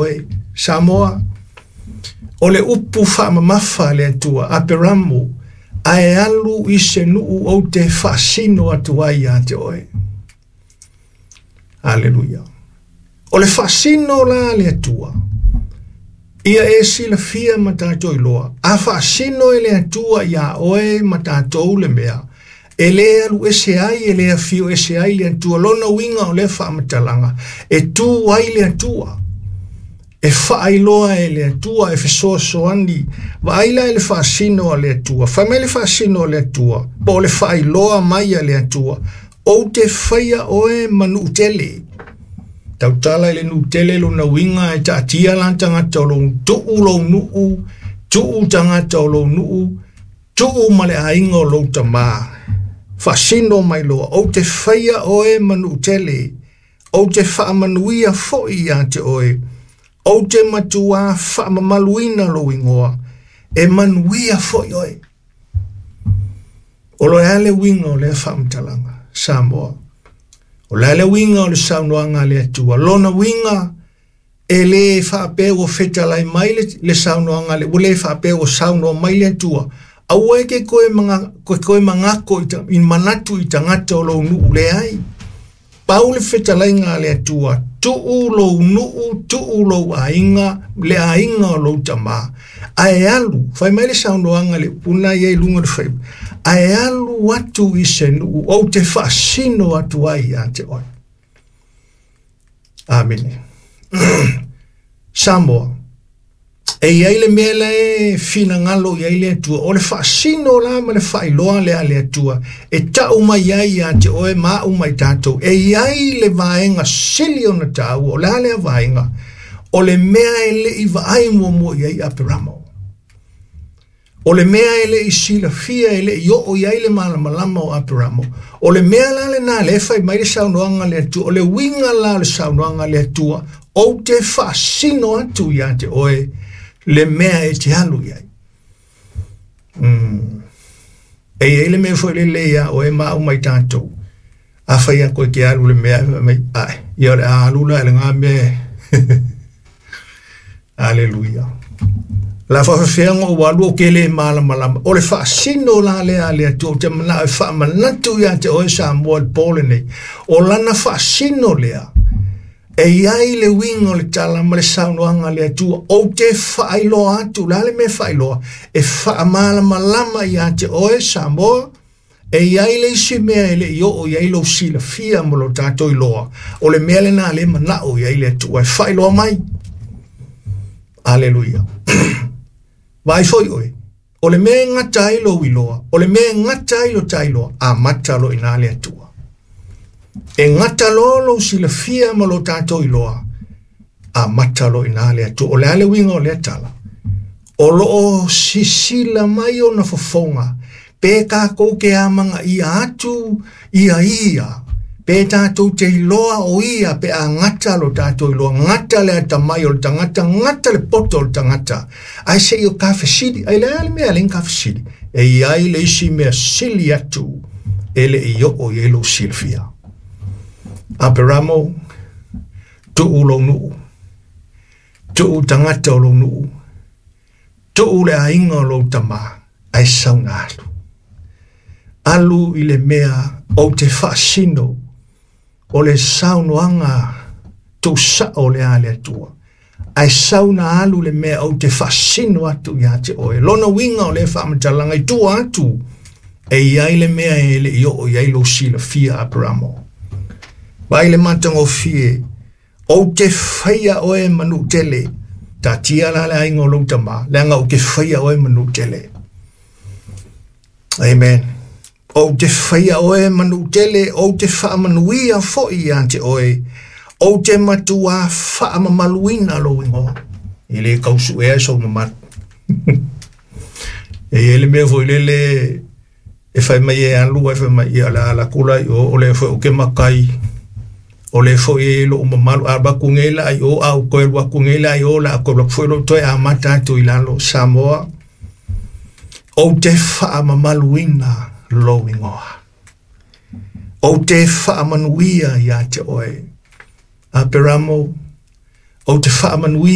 Oe, Samoa, o le upu faamamafa a le Atua, Aperamo, ae alu i se nuu ou te faasino atu ai ia te oe. Aleluia. O le faasino la a le Atua, ia e silafia ma tatou iloa, a faasino e le Atua iā oe ma tatou le mea, e lē alu ese ai, e lē afio ese ai le Atua. Lona uiga o lea faamatalaga, e tu ai le Atua, e faailoa e le Atua, e fesoasoani. Vaai la i le faasino a le Atua. Fai mai le faasino a le Atua, po o le faailoa mai a le Atua, ou te faia oe ma nuu tele. Tautala i le nuu tele lona uiga e taatia la tagata o lou tuu lou nuu, tuu tagata o lou nuu, tuu ma le aiga o lou tamā. Faasino mai loa, ou te faia oe ma nuu tele, ou te faamanuia foi ia te oe, ou te matuā faamamaluina lou igoa, e manuia foi oe. O le a le uiga o lea faamatalaga, Samoa? O le a le uiga o le saunoaga a le Atua? Lona uiga, e lē faapea ua fetalai mai le saunoaga le ua lē faapea ua saunoa mai le Atua, aua e te toe maga, toe magako i manatu i tagata o lou nuu, leai. Pau le fetalaiga a le Atua, tuu lou nuu, tuu lou aiga, le aiga o lou tamā, ae alu, fai mai le saunoaga le upu lena ia i luga o le faiva, ae alu atu i se nuu ou te faasino atu ai ia te oe. Amene. Samoa, e i ai le mea la e finagalo i ai le Atua, o le faasino la ma le faailoa lea a le Atua, e tau mai ai ia te oe ma au mai tatou, e i ai le vaega sili ona taua, o le a lea vaega, o le mea e le i vaai muamua i ai Aperamo. O le mea e le i silafia, e le i oo i ai le malamalama o Aperamo. O le mea la lena le fai mai le saunoaga a le Atua, o le uiga la o le saunoaga a le Atua, ou te faasino atu ia te oe le mea e te alu i ai. E i ai le mea foi lele ia oe ma au mai tatou, a fai atu e te alu le mea, fai mai, ae, ia o le a alu la i lena mea. Aleluia. La faafefea ona ou alu ou te le malamalama. O le faasino la lea a le Atua, ou te manao e faamanatu ia te oe Samoa i le po lenei. O lana faasino lea, e i ai le uiga o le tala ma le saunoaga a le Atua, ou te faailoa atu, o le a le mea e faailoa? E faamalamalama ia te oe Samoa, e i ai le isi mea e le i oo i ai lou silafia ma lo tatou iloa, o le mea lena le manao i ai le Atua e faailoa mai. Aleluia. Vaai foi oe, o le mea e gata ai lou iloa, o le mea e gata ai lo ta iloa, amata loa i ina le Atua. E gata loa lou silafia ma lo tatou iloa, amata loa i ina le Atua. O le a le uiga o lea tala? O lo o sisila mai ona fofoga, pe tatou te amagaia atu ia ia, pe tatou te iloa o ia, pe a gata lo tatou iloa, gata le atamai o le tagata, gata le poto o le tagata, ae se i o ta fesili, ai le a le mea le ta fesili, e i ai le isi mea sili atu e le i oo i ai lou silafia. Aperamo, tuu lou nuu, tuu tagata o lou nuu, tuu le aiga o lou tamā, ae sauna alu. Alu i le mea ou te faasino, o le saunoaga tuusao lea a le Atua, ae sauna alu le mea ou te faasino atu ia te oe. Lona uiga o lea faamatalaga i tua atu, e i ai le mea e le i oo i ai lou silafia Aperamo. Vaai le matagofie, ou te faia oe ma nuu tele. Taatia la le aiga o lou tamā, leaga ou te faia oe ma nuu tele. Amen. Ou te faia oe ma nuu tele, ou te faamanuia foi ia te oe, ou te matuā faamamaluina lou igoa. E le tausuea sou mamalu. E i ai le mea foi lele e fai mai e alu, ae fai mai, ia o le a alu atu la i o, o lea foi ou te matai, o lea foi e i ai lou mamalu, a alu atu nei la i o, a ou toe alu atu nei la i o, o le a toe alu atu foi lou toe amata atu i lalo. Samoa, ou te faamamaluina lou igoa. Ou te faamanuia ia te oe. Aperamo, Ou te faamanuia.